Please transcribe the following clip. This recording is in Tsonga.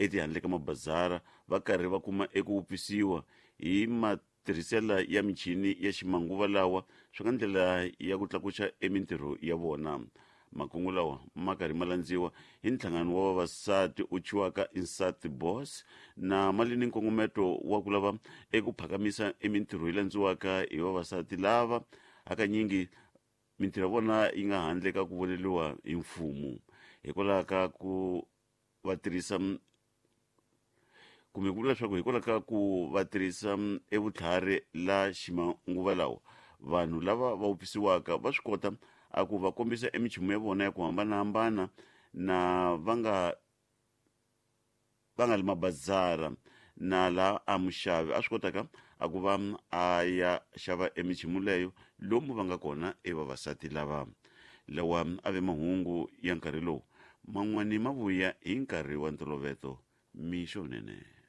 etihandle ka mabazara va karhi va kuma eku wupfisiwa hi matirhisela ya michini ya ximanguva lawa swi nga ndlela ya ku tlakuxa emintirho ya vona. Makungu lawa ma karhi ma landziwa hi nhlangano wa vavasati u thyiwaka Insati Boss na mali ni nkongometo wa ku lava eku phakamisa emintirho yi landziwaka hi vavasati lava hakanyingi mintirho ya vona yi nga handle ka ku voneriwa hi mfumo hikwalaho ka ku va tirhisa kumbe ku vula leswaku hikwalaho ka ku va tirhisa evutlhari la ximanguva lawa vanhu lava va wupfisiwaka va swi kota a ku va kombisa emichumu ya vona ya ku hambanahambana na va nga va nga li mabazara na laha a muxavi a swi kotaka a ku va a ya xava emichumu leyo lomu va nga kona e vavasati lava. Lawa a ve mahungu ya nkarhi lowu man'wani ma vuya hi nkarhi wa ntoloveto mixo wunene.